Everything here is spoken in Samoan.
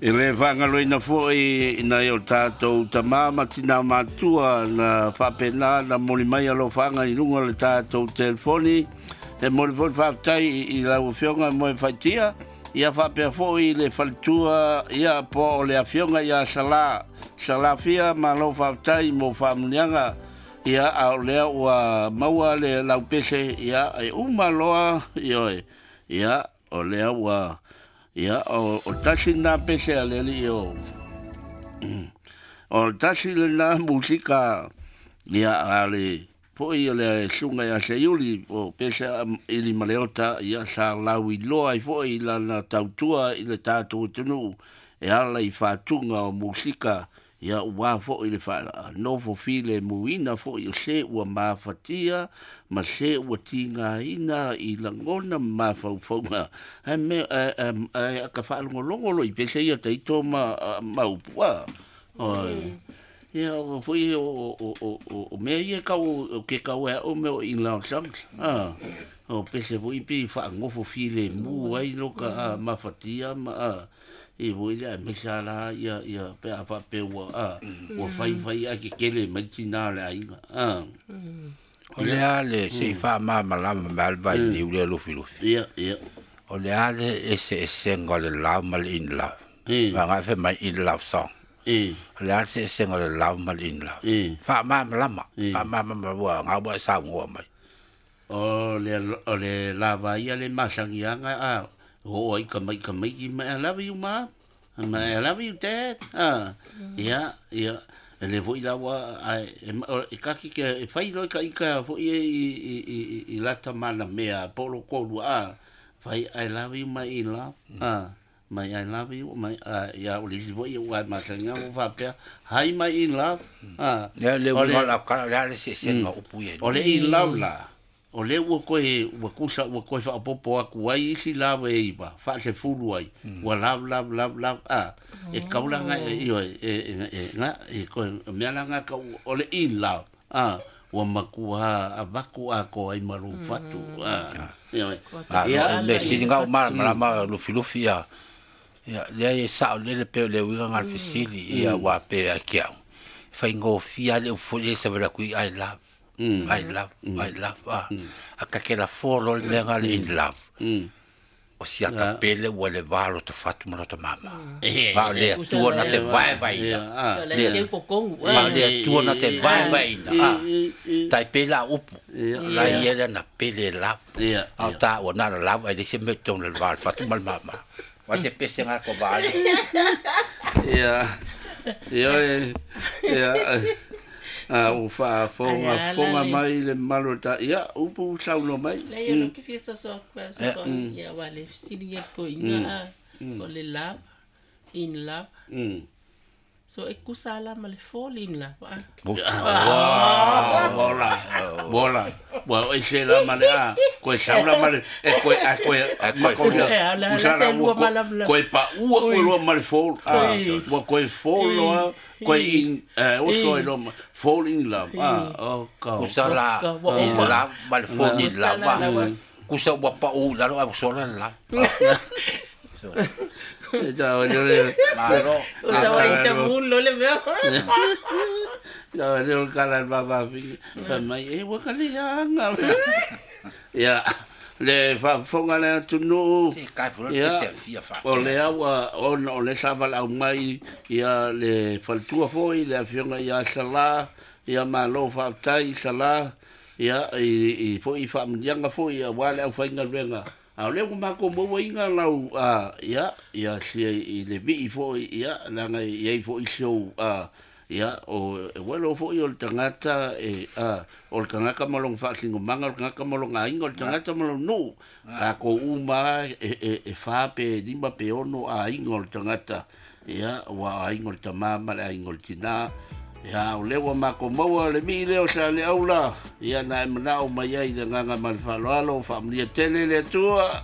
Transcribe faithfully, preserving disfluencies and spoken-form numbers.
E le faagaloina foʻi nai o tatou tamā ma tinā matua na faapena na moli mai alofaga i luga o le tatou telefoni. E moli foi le faafetai i lau afioga mo e faaitia ia faapea foʻi le faletua ia po o le afioga ia Salā Salafia malo faafetai mo faamuniaga ia a o lea ua maua le laupese ia e uma loa ioe ia o lea ua ia o o tasi na pese a le alii o o tasi lena musika ia a le foʻi o le suga ia Seiuli o pese ili ma le ota ia sa lauiloa ai foʻi lana tautua i le tatou atunuu e ala i faatuga o musika ia ua foʻi le faanofo filemuina foʻi o se ua mafatia ma se ua tigaina i lagona ma mafaufauga ae me ae aka faalogologo lo i pese ia taito ma ma upu a oi ia o foi o o o o mea ia kau o ke kau e o me o in love songs a o pese foi pe faagofo filemu ai lo ka a mafatia ma a e voi le me sa la ia ia pe a fa pe ua a ua fai fai a ke kele mai tina le aiga a O le a le se i faamalamalama mai le vailiu lea lufilufi. Ia ia O le a le eseesega o le love ma le in love. E Agai fai mai in love song. E O le a le eseesega o le love ma le in love. E Faamalamalama. E Faamalamalama ua gau e saugoa mai. O le o le lava ia le masagiaga a o ai ka mai ka mai ki mai I love you ma ma I love you dad a ia ia e le foi laua a e e kaki ke e fai loi ka ika foi e i i i i lata mana mea polo kolu a fai I love you my in love a my I love you my a ia o le isi foi ua masagiaga ua faapea hi my in love a Lea le o uiga le o lau tala, o le a le eseesega o upu ia e o lua. Le in love la o le ua koe ua kusa ua koe faapopo aku ai isi lava e iva faasefulu ai ua love love love love a e kaulaga e ioe e e e ga e koe mea laga kau o le in love a ua makua avaku atoa ai ma lou fatu a ioe A ia o le mea sili ga o malamalama lufilufi ia. Ia lea e sao lele pe o le uiga ga le fesili ia ua pe a ke au. Faigofie le upu foi lea sa vela kui I love. I love, I love. A, a ka ke la folo le mea ga le in love. Mm O si ata pele ua le va lo ta fatu ma lo ta mama. E Ma o le atua na te vaevaeina. a Le kokongu ma o le atua na te vaevaeina. A, e tai pela upu. Ia. La ia le na pele love. Ia A o tā ua nana love ai le se mea tonu le va le fatu ma le mama. Wa se pese ngā ko vale. Ia ioe ia a ua faafoga foga mai le mamalu o ta ia upu saunoa mai. Le ia lo ke fia soso aku a soso ia wa le fesili ia ko inga a o le love in love Mm so e kusa la ma le fall in love a. Bola bola ua ese la ma le a koe saula ma le e koe a koe ma koe koe E, ala- ala usala se ua lua ko- malamala. koe paʻua koe loa ma le fall a Oi. ua koe fall loa koe in eh o koe loa ma- fall in love a o ka Kusa la Ka- wa- in love ma le fall in love. Kusa la- A. Kusa ua pa u lalo a sola le love. So, e ta o le malo. O sa wa ita mulo le mea. Ia le o kala le vavafi fai mai e ua kaliaga ia le faafofoga le atunuu Se kai furo Ia. te se fia fa. O lea ua ona o le sa valaau mai ia le faletua foʻi le afioga ia Salā ia malo faafetai Salā ia i i foʻi faamuniaga foʻi auā le aufaigaluega a o lea ua makou mauaiga lau a ia ia sia i le vii foʻi ia leaga i ai foʻi sou a ia o e uelo foʻi o le tagata e a o le tagata ma lona faasinomaga o le tagata ma lona aiga o le tagata ma lona nuu takou uma e e e fa pe lima pe ono aiga o le tagata ia ua aiga o le tamā ma le aiga o le tinā ia o lea ua makou maua le vii lea o sa le aula ia na e manao mai ai le agaga ma le faaaloalo faamanuia tele le Atua.